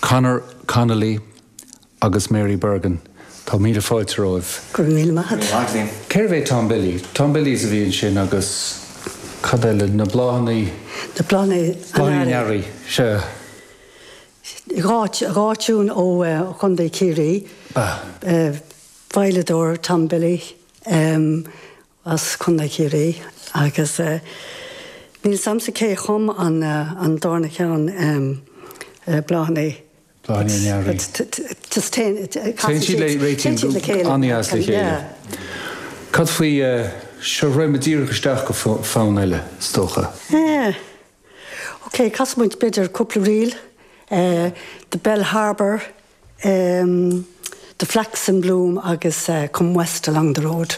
Conor Connolly agus Mary Bergin, tá míle fáilte romhaibh. Go raibh míle maith agat. Cérbh é Tom Billy? Tom Billies a bhí ansin agus cad eile? Na Bláthanna. Na Bláthanna an Earraigh. Sea. Dhá tiún ó Chontae Chiarraí. Veidhleadóir Tom Billy as Contae Chiarraí agus níl 'fhios a'msa cé a chum an darna ceann Bláthanna. Bláthanna an Earraigh. Just téann Téann siad le réitíonn siad le chéile. an-deas le chéile. Cad faoi seo raghaidh muid díreach isteach go fonn eile, is dócha. Ok, casfaidh muid b'fhéidir cúpla ríl, The Bell Harbour, The Flax in Bloom agus Come West Along the Road.